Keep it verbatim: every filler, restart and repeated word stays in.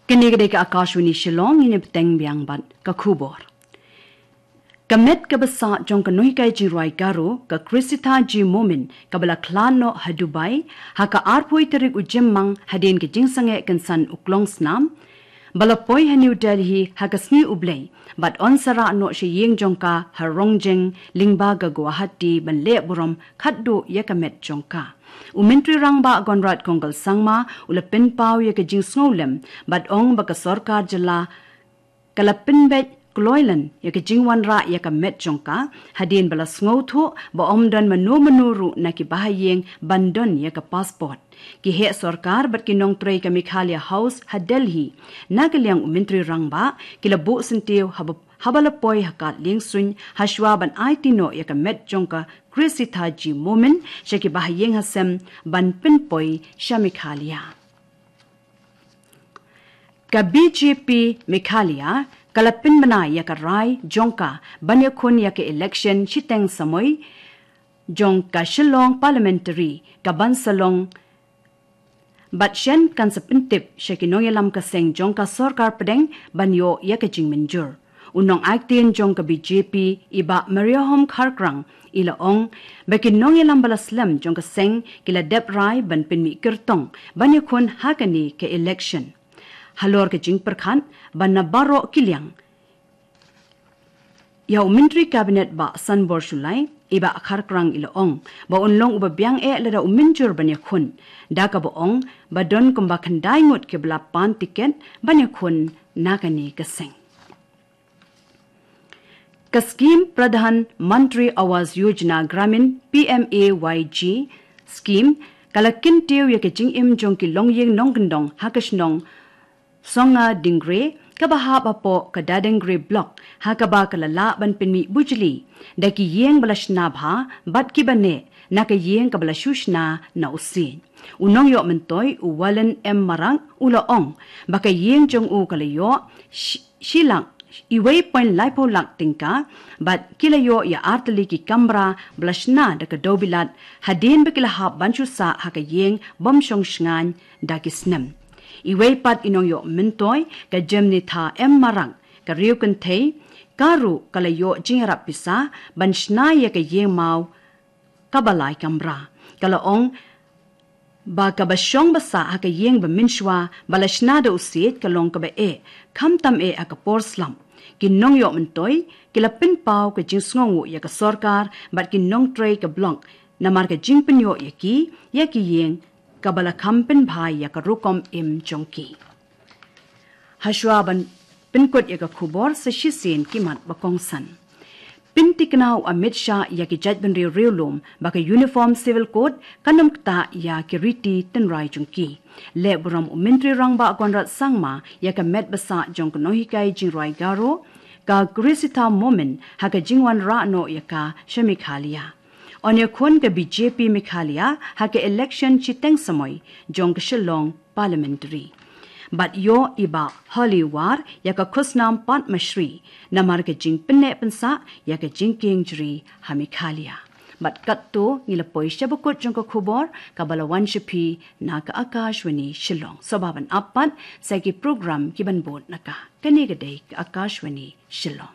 Kane ka dei ka Akashvani Shillong, ngin ïa bteng biang bad ka khubor. Ka met kaba sah jong ka nonghikai jingrwai Garo, ka Krisitha G Momin, kaba la khlad noh ha Dubai ha ka arphew tarik u Jymmang hadien ka jingsangeh kynsan u klong snam, ba la poi ha New Delhi ha ka sngi U Blei, bad yn sa rah noh sha ïing jong ka ha Rongjeng lyngba ka Guwahati ban leh burom khatduh ïa ka met jong ka. U Myntri Rangbah Conrad Kongkal Sangma u la pynpaw ïa ka jingsngewlem bad ong ba ka sorkar jylla ka la pynbeit kloi lem ïa ka jingwanrah ïa ka met jong ka, hadien ba la sngewthuh ba ym don mano mano ruh na ki bahaïing ban don ïa ka passport. Ki heh sorkar bad ki nongtrei ka Meghalaya House ha Delhi, na ka liang u Myntri Rangbah, ki la buh syntiew haba, haba la poi ha kad liengsuiñ hashwa ban aiti noh ïa ka met jong ka Krisitha G Momin sha ki bahaïing hasem ban pynpoi sha Meghalaya. Ka B J P Meghalaya ka la pynbna ïa ka rai jong ka ban ïakhun ïa ka election shiteng samoi jong ka Shillong Parliamentary, kaban sa long bad shen kan sa pyntip sha ki nongïalam ka seng jong ka sorkar pdeng ban ïoh ïa ka jingmynjur. U nongaktien jong ka B J P, i Bah Mariahom Kharkrang, i la ong ba ki nongïalam ba la slem jong ka seng ki la dep rai ban pynmih kyrtong ban ïakhun ha kane ka election. Halor ka jingpyrkhat ba na baroh ki liang ïa u Myntri Kabinet Bah Sanbor Shullai, i Bah Kharkrang i la ong ba un long uba biang eh lada u mynjur ban ïakhun, da kaba ong ba don kumba khyndai ngut kiba la pan tiket ban ïakhun na kane ka seng. Ka skhim Pradhan Mantri Awas Yojana Gramin, P M A Y G skhim, ka la kyntiew ïa ka jingim jong ki longïing nongkyndong ha ka shnong Songadingre, kaba hap hapoh ka Dadengre Block, ha kaba ka la lah ban pynmih bujli da ki ïing ba la shna bha bad kiba neh na ka ïing kaba la shu shna na u siej. U nongïoh myntoi u Wallen M Marak u la ong ba ka ïing jong u ka la ïoh shi, shi lak, iwei point laiphew lak tyngka, bad ki la ïoh ïa ar tylli ki kamra ba la shna da ka dewbilat, hadien ba ki la hap ban shu sah ha ka ïing bym shong shngaiñ da ki snem. Iwei pat i nongïoh myntoi, ka Jemnitha M Marak, ka riew kynthei, ka ruh ka la ïoh jingïarap pisa ban shna ïa ka ïing maw kaba lai kamra. Ka la ong ba kaba shong ba sah ha ka ïing ba mynshuwa ba la shna da u siej ka long kaba eh, khamtam eh ha ka por slap. Ki nongïoh myntoi ki la pynpaw ka jingsngewnguh ïa ka sorkar bad ki nongtrei ka block, namar ka jingpynïoh ïa ki ïa ki ïing kaba la kham pynbha ïa ka rukom im jong ki. Hashwa ban pynkut ïa ka khubor, sa shisien ki mat ba kongsan. Pyntikna u Amit Shah ïa ki jaitbynriew riewlum ba ka Uniform Civil Code kan ym ktah ïa ki riti tynrai jong ki. Leh burom u Myntri Rangbah Conrad Sangma ïa ka met ba sah jong ka nonghikai jingrwai Garo, ka Krisitha Momin, ha ka jingwanrah noh ïa ka sha Meghalaya. Yn ïakhun ka B J P Meghalaya ha ka election shiteng samoi jong ka Shillong Parliamentary. Bad ïoh i Bah Holly War ïa ka khusnam Padma Shri namar ka jingpynneh pynsah ïa ka jingkieng jri ha Meghalaya. Bad katto ngi la poi sha ba kut jong ka khubor kaba la wan sha phi na ka Akashvani Shillong. Sngewbha ban ap pat sa ki program kiban bud na ka. Kane ka dei ka Akashvani Shillong.